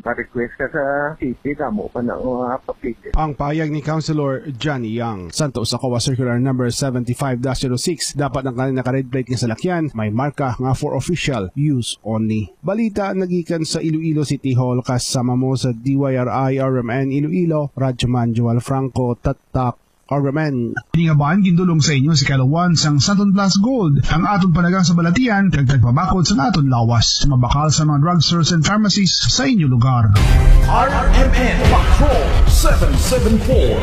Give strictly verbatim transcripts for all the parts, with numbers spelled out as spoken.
Pa-request ka sa city, damo pa na nga papel. Ang pahayag ni Councilor Johnny Yang. Santo sa COA Circular Number seventy-five dash zero six, dapat ang kanang naka-red plate nga salakyan may marka nga for official use only. Balita nagikan sa Iloilo City Hall, kasama mo sa D Y R I R M N Iloilo, Radyo Man Joel Franco, Tatak, R M N. Ini nga ban gindulong sa inyo sa kalawan sang Santon Plus Gold, ang aton panagang sa balatian kag tagpabakod sa aton lawas. Mabakal sa mga drugstores and pharmacies sa inyo lugar. R M N Patrol seven seven four.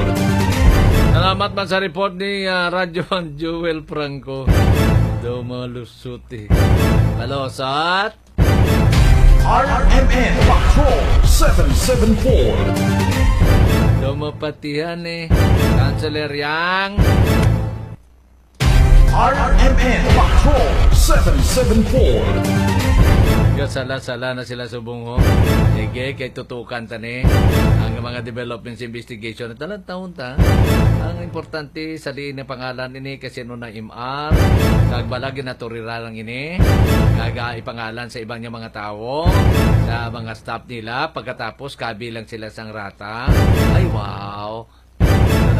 Salamat man sa report ni, ah, Radyo Man Joel Franco. Daw malusuti. Hello, sat. R M N Patrol seven seven four. Daw mapatihan eh. Councilor Yang. R M N Patrol seven seven four. Gasala-sala na sila subong, ho. Sige, kay tutukan ta ni ang mga developments investigation. Talang taon ta. Ang importante, saliin ang pangalan ini kasi ano na M R. Kag bala ginaturira lang ini. Kag, ah, ipangalan sa ibang niya mga tawo, sa mga staff nila. Pagkatapos, kabilang sila sang rata. Ay, wow.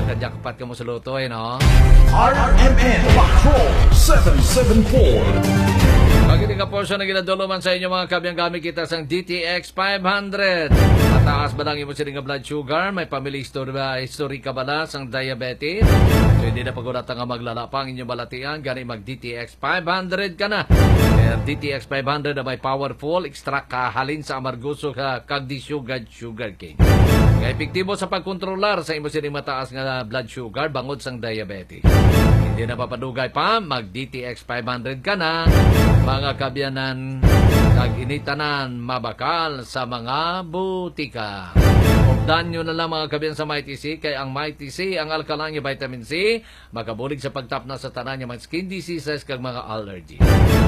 Nakajakpat ka mo sa loto, eh, no? R M N Patrol seven seven four. Pag hindi ka portion na ginaduluman sa inyo, mga kabiyang, gamit kita sang D T X five hundred. Mataas ba lang imo sini nga blood sugar? May family history ba, history ka bala sang diabetes? So, hindi na pagulata nga maglala pa ang inyong balatian. Gani mag D T X five hundred ka na. Kaya D T X five hundred na may powerful extract ka halin sa amargoso ka kag di sugar sugarcane. Nga epektibo sa pagkontrolar sa imo sining mataas nga blood sugar bangod sang diabetes. Hindi na papadugay pa, mag D T X five hundred ka na, mga kabyanan, kag ini tanan mabakal sa mga butika. Updan nyo na lang, mga kabyan, sa Mighty C, kay ang Mighty C, ang alkaline nga vitamin C, makabulig sa pagtapna sa tanan nga mga skin diseases kag mga allergy.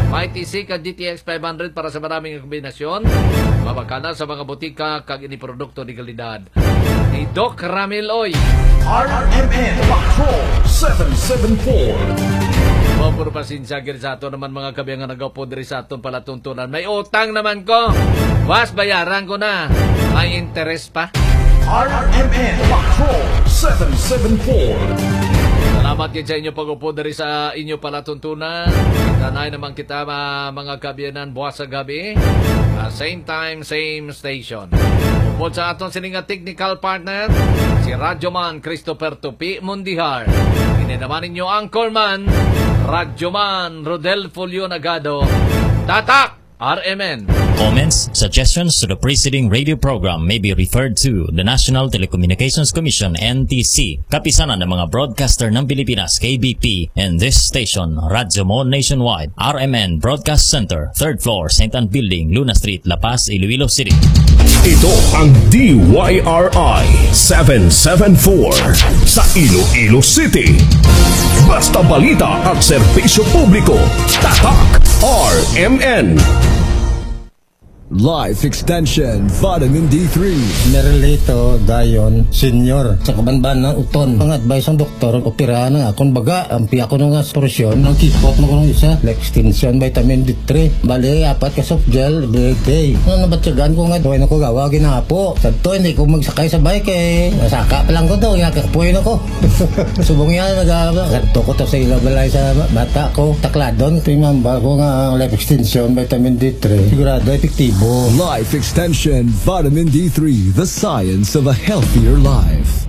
Mighty C kag D T X five hundred para sa marami nga kombinasyon. Mabakal na sa mga butika kag ini produkto de kalidad ni Doc Ramil Oy. R M N Patrol seven seven four. Mao, pero pasensya gid sa ato naman, mga kabyan, nga nagaupod diri sa aton palatuntunan. May utang naman ko. Was, bayaran ko na. May interest pa. R M N Patrol seven seven four. Salamat gid sa inyo pag-upo diri sa inyo palatuntunan. Tanay naman kita, ma-, mga kabyanan, buwas sa gabi. Ah, same time, same station. Upod sa aton sini nga technical partner, si Radyoman Christopher Tupi Mundihar. Ini naman ninyo anchorman, Radyoman Rodel Fulio Nagado. Tatak! R M N. Comments, suggestions to the preceding radio program may be referred to the National Telecommunications Commission, N T C, Kapisanan ng mga Broadcaster ng Pilipinas, K B P, and this station, Radyo Mo Nationwide, R M N Broadcast Center, third floor, Saint Ann Building, Luna Street, La Paz, Iloilo City. Ito ang D Y R I seven seven four sa Iloilo City. Basta balita at serbisyo publiko, tatak R M N. Life Extension Vitamin D three. Merlito Dayon Senior. Sa kabanban ng uton, ang advice ng doktor, operahan ang akon baga. Ampi ako nga solusyon, ang kipot mo kung isa, Life Extension Vitamin D three. Bali, apat ka soft gel, every day. Nga nabatyagan ko nga, tuwin ako gawa, ginapo. Sa to, hindi ko magsakay sa bike eh. Nasaka pa lang ko to, nga kapoy na ko. Subong yan, nag-aaba. Kadto ko to sa ila balay sa bata ko. Takladon, ito yung mamba ko nga ang Life Extension, Vitamin D three. Sigurado, epektibo. Life Extension Vitamin D three, the science of a healthier life.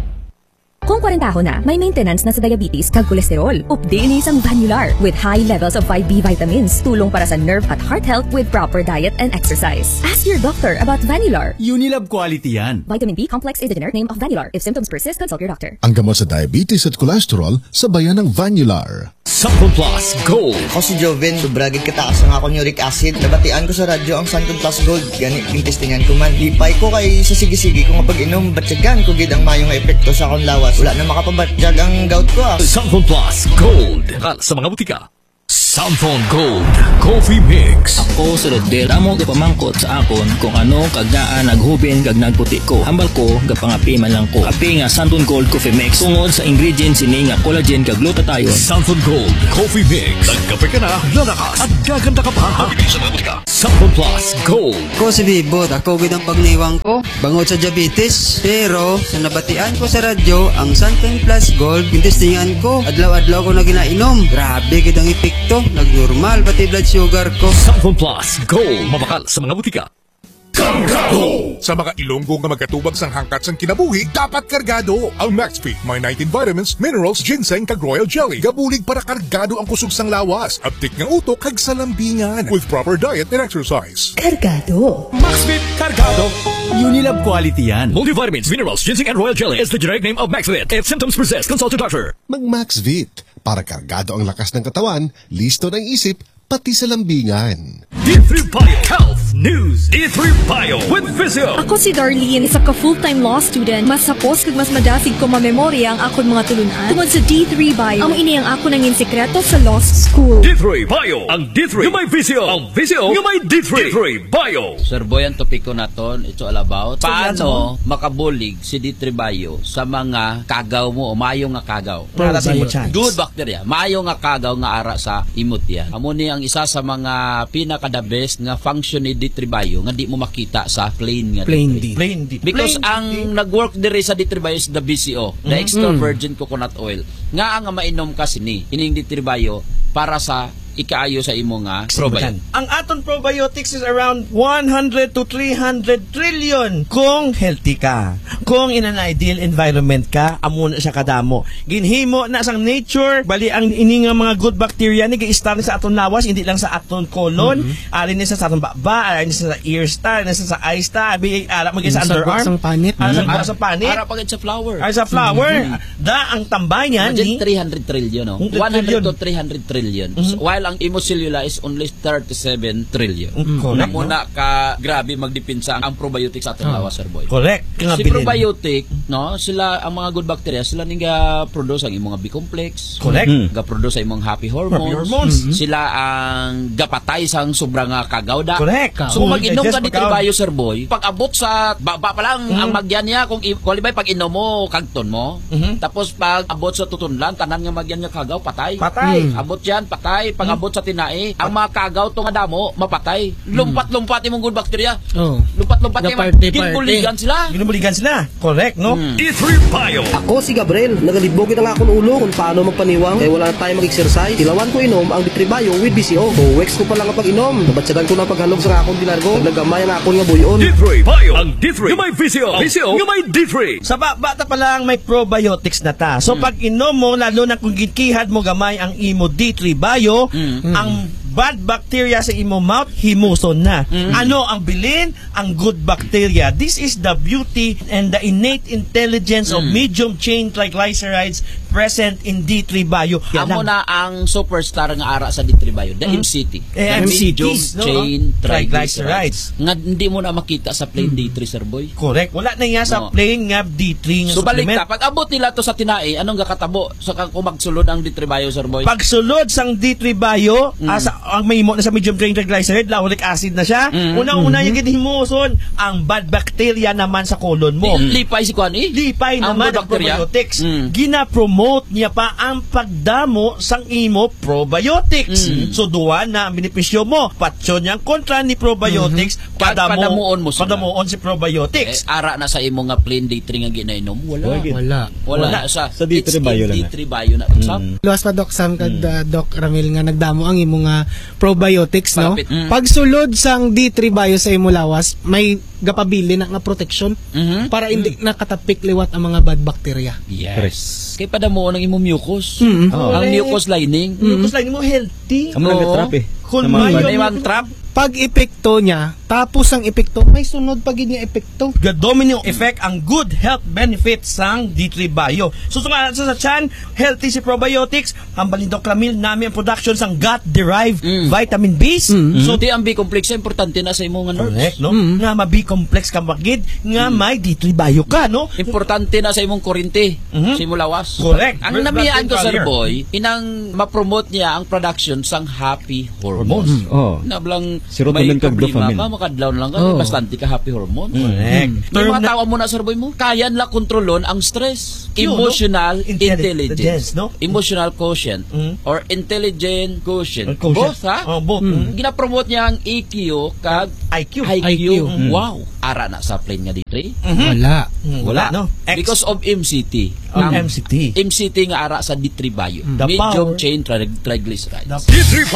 Kung kwarentahon na, may maintenance na sa diabetes kag kolesterol. Updi ini sang Vanular with high levels of five B vitamins. Tulong para sa nerve at heart health with proper diet and exercise. Ask your doctor about Vanular. Unilab quality yan. Vitamin B complex is the generic name of Vanular. If symptoms persist, consult your doctor. Ang gamot sa diabetes at cholesterol, sabayan ng Vanular. Santon Plus Gold. Ako si Joven. Sobra gid kataas ang akon uric acid. Nabatian ko sa radyo ang Santon Plus Gold. Gani, gintestingan ko man. Lipay ko kay sa sige-sige ko nga pag-inom, batyagan ko gid ang mayo nga epekto sa akon lawas. Wala na makapabatyag ang gout ko, ah. Santon Plus Gold. Kal sa mga butika. Samson Gold Coffee Mix. Ako si Rodel. Damo gapamangkot sa akon kung ano kag ngaa naghubin kag nagputi ko. Hambal ko, gapangapi man lang ko. Kape nga Samson Gold Coffee Mix tungod sa ingredients sini nga collagen kag glutathione. Samson Gold Coffee Mix. Nagkape ka na, lalakas, at gaganda ka pa. Mabibili sa mga butika. Samson Plus Gold. Ko si Bibot, ako gid ang pagniwang ko. Bangod sa diabetes, pero sa nabatian ko sa radyo, ang Santon Plus Gold, gintestingan ko. Adlaw-adlaw ko na ginainom. Grabe gid ang epekto. Nagnormal pati blood sugar ko. Samson Plus Gold, mabakal sa mga butika. Kargado! Sa mga Ilonggo nga magkatubag sang hangkat sang kinabuhi, dapat kargado. Ang Maxfit may nineteen vitamins, minerals, ginseng, kag royal jelly. Gabulig para kargado ang kusog sang lawas, abtik nga utok, kag sa lambingan. With proper diet and exercise. Kargado. Maxfit Kargado. Unilab quality yan. Multivitamins, minerals, ginseng, and royal jelly is the generic name of Maxfit. If symptoms persist, consult your doctor. Mag Maxvit para kargado ang lakas ng katawan, listo ng isip, pati sa lambingan. D three Bio Health News. D three Bio with Visio. Ako si Darlene, isa ka full-time law student. Mas hapos kag mas madasig ko mamemorya ang akon mga tulunan tungod sa D three Bio. Amo ini ang akon nangin sekreto sa law school. D three Bio, ang D three nga may visyo, ang visyo nga may D three. D three Bio. Sir Boy, ang topiko naton, it's all about So, paano yan, makabulig si D three Bio sa mga kagaw mo o mayo nga kagaw. Para sa imo Probiotics. Good bacteria. Mayo nga kagaw nga ara sa imo tiyan. Amo ni ang isa sa mga pinaka the best nga function ni D three Bio nga di mo makita sa plain nga Plain D three. D. Plain D. Because Plain ang D three. Nag-work diri sa D three Bio is the B C O, the Mhm. extra Mm. virgin coconut oil. Nga ang mainom ka sini, ining D three Bio para sa ikaayo sa imo nga Simutan. Probiotic. Ang aton probiotics is around one hundred to three hundred trillion kung healthy ka. Kung in an ideal environment ka, amo na siya kadamo. Ginhimo na sang nature, bali ang ini nga mga good bacteria ni giistar ni sa aton lawas, hindi lang sa aton colon, Mhm. ari ni sa, sa aton baba, ari ni sa ears ta, ari ni sa, sa eyes ta, abi, ara mo sa Yung sa underarm, sang panit. Ara sa Mhm. sa panit. Ara pa gid sa flower. Ara sa flower. Mhm. Da ang tambayan Imagine ni three hundred trillion, no? Hundred trillion. One hundred to three hundred trillion. Mhm. While ang imo selula is only thirty-seven trillion. Mm, correct, Amo no? Na ka grabe magdepensa ang probiotic sa aton Ah. lawas, sir boy. Correct. Kaya Si bilin. Probiotic, no, sila ang mga good bacteria, sila ning ga-produce ang imong B complex. Correct. Mm. Ga-produce ang imong happy hormones. Happy hormones. Mm-hmm. Sila ang gapatay sang sobra nga kagaw da. Correct. So, kung Correct. Mag-inom ka Digest ni pagkaon. Tribayo, sir boy, pag abot sa baba pa lang, Mm. ang magyan niya, kung i-, qualify, pag inom mo, kagton mo. Mhm. Tapos, pag abot sa tutunlan, tanan nga magyan nga kagaw, patay. Patay. Mm. Abot yan, patay. Pag Mm. abot sa tinai, ang mga kagaw to nga damo, mapatay. Mm. Lumpat-lumpat imong good bacteria. Oh. Lumpat-lumpat imong Ga-party-party. Ginbuligan sila. Ginbuligan sila. Correct, no? Mm. D three Bio. Ako si Gabriel. Nagalibog ang akon ulo kung paano magpaniwang kay wala na tayo mag-exercise. Tilawan ko inom ang D three Bio with B C O. Two weeks ko pa lang ang pag-inom. Nabatyagan ko na ang paghalog sa akon di largo. Naglagamay ang akon nga buyon. D three Bio. Ang D three nga may visyo. Ang visyo nga may D three. Sa ba-, bata pa lang may probiotics na ta. So, Mm. pag inom mo, lalo na kung ginkihad mo gamay ang imo D three Bio, Mm. ang bad bacteria sa imo mouth, himuson na. Mm. Ano ang bilin? Ang good bacteria. This is the beauty and the innate intelligence of Mm. medium chain triglycerides present in D three Bio. Yan Amo lang. Na ang superstar nga ara sa D three Bio, the Mm. M C T. Eh, The M C Ts, medium no? Chain Triglycerides. Triglycerides. Nga hindi mo na makita sa plain Mm. D three, sir boy. Correct. Wala na niya sa No. plain nga D three nga So, balik supplement. Ta, pag abot nila to sa tinai, anong gakatabo sa kang kung magsulod ang D three Bio, sir boy? Pagsulod sang D three Bio, Mm. ah, sa, ang mahimo na sa medium chain triglyceride, lauric acid na siya. Mm. Una-una Mm-hmm. yung ginihimuson, ang bad bacteria naman sa colon mo. Di, lipay si kuan, eh. Lipay Ang naman good ang bacteria. Probiotics. Mm. Gina-promote niya pa ang pagdamo sang imo probiotics. Mm. So, duwa na ang benepisyo mo. Patyon niya ang kontra ni probiotics, Mm-hmm. Pag padamo-, padamuon mo sila. Padamuon si probiotics. Eh, ara na sa imo nga plain D three nga ginainom, wala. Wala gid. Wala. Wala. Wala. Sa, sa D three Bio lang na. D three Bio na, Sam. Mm. Luwas pa, Doc Sam, kag, Mm. uh, Doc Ramil, nga nagdamo ang imo nga probiotics, no? Palapit. Mm. Pagsulod sang D three Bio sa imo lawas, may gapabilin na nga protection Mhm. para hindi Mm. nakatapik liwat ang mga bad bacteria. Yes. Correct. Kay padamuon ang imong mucus. Mm. Oh. Ang Correct. Mucus lining. Mm. Mucus lining mo healthy. Amo lang Oo. Trap eh. Kung Sa mga mayo May bad. Mga trap. Pag-epekto niya, tapos ang epekto, may sunod pa gid nga epekto. Ga-domino effect ang good health benefits sang D three Bio. So, sumala sa, sa tiyan, healthy si probiotics, ang balindok lamil nami ang production sang gut-derived Mm. vitamin Bs. Mm. So, Di ang B-complex, importante na sa imong nga nerves. Correct, no? Mm. Nga ma-B-complex ka magid, nga Mm. may D three Bio ka, no? Importante na sa imong kurente, Mhm. sa imong lawas. Correct. Ang Br- namian ko, blood-brain Sir barrier. Boy, inang ma-promote niya ang production sang happy hormones. Hormones. Mm, oh. Na blang Serotonin may kag problema dopamine. Ka, makadlaw lang ka, Oh. bastante ka happy hormone. Correct. Mm. May Term mga na tao mo na, Sir Boy, mo, kaya nila kontrolon ang stress. Yun, no? Emotional Intelli-, intelligence. Intelligence, no? Emotional quotient Mm. or intelligent quotient. Quotient. Both, ha? Oh, both. Mm. Mm. Ginapromote niya ang E Q kag I Q. I Q. I Q. Mm. Wow. Ara na sa plane nga D three? Mhm. Wala. Mm, Wala. wala, no? X. Because of M C T. Ang M C T. M C T nga ara sa D three Bio. The Medium power. Chain tri-, triglycerides. The D three